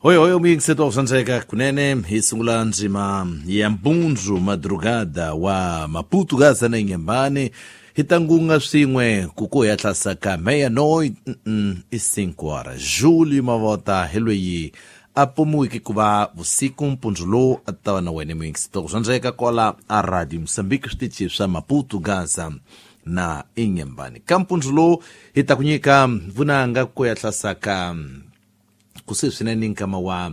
Hoi hoi omiyingiseto swandzeka kunene hi sungula ndzima ya mpundzu madrugada wa Maputo Gaza na Inhambane hi ta ngunga swin'we ku ko ya hlasaka meia-noite i 5 horas. Júlio Mavota hi loyi a pomiweke ku va vusiku mpundzu lowu a ta va na wena muyingisito swandzeka kwala a Radio Moçambique switichi swa Maputo Gaza na Inhambane. Ka mpundzu lowu hi ta ku nyika vunanga ku ya hlasaka kusuhi swinene nkama wa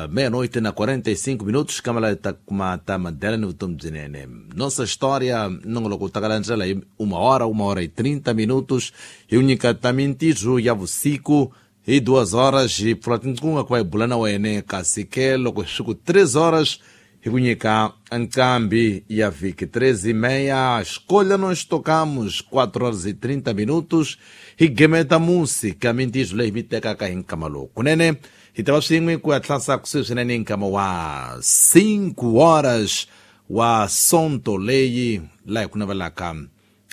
meia-noite na 45 minutos kama la ta kuma ta madela ni vutomi byinene. Nossa história nongoloko wu ta kalandzela hi 1 hora, 1 hora e 30 minutos, hi wu nyika ta mintirho ya vusiku hi 2 horas hi pfula tinqunga ku va hi bula na wene, kasi ke loko swi ku 3 horas hi ku nyika nqambi ya vhiki 3:30 escolha nós tocamos 4 horas e 30 minutos hi gemeta música mintirho leyi mi tekaka hi nkama lowu. Kunene hi ta va swin'we ku ya tlasa kusuhi swinene nkama wa 5 horas wa sonto leyi laha hi ku navelaka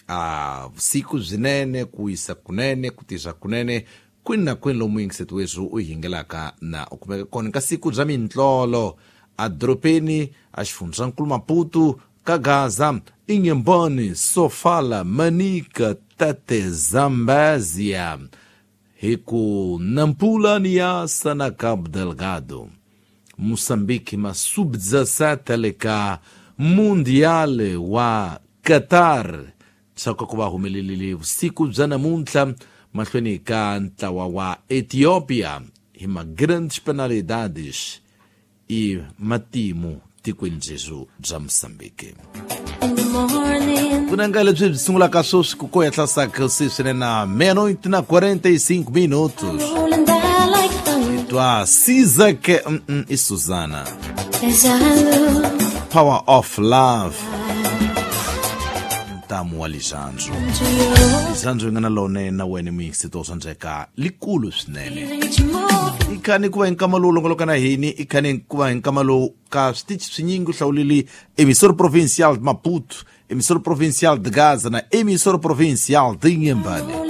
a vusiku byinene, ku wisa kunene, ku tirha kunene kwini na kwini lomu yingiseto wethu u hingelaka na u kumeka kona ka siku bya mintlolo adorobeni a xifundzankulu Maputo ka Gaza, Inhambane, Sofala, Manica, Tete, Zambezia, hi ku Nampula, Niassa na Cabo Delgado. Moçambique ma sub-17 le ka Mundial wa Qatar swa ku va humelelile vusiku bya namuntlha mahlweni ka ntlawa wa Ethiopia hi ma grandes penalidades i matimu tikweni byezu bya Mosambiki. Vunanga lebyi byi sungulaka sweswi ku ko ya hlasaka sweswi na meia-noite na 45 minutos twa Sizake i Susana, Power of Love, ntamu wa lixandzu lixandzu yi nga na lone na wena muyingisito swandzeka likulu swinene. I khani ku va hi nkama lowu longoloka na hini, i khani ku va hi nkama lowu ka switichi swinyingi u hlawulile Emissora Provincial de Maputo, Emissora Provincial de Gaza na Emissora Provincial de Inhambane.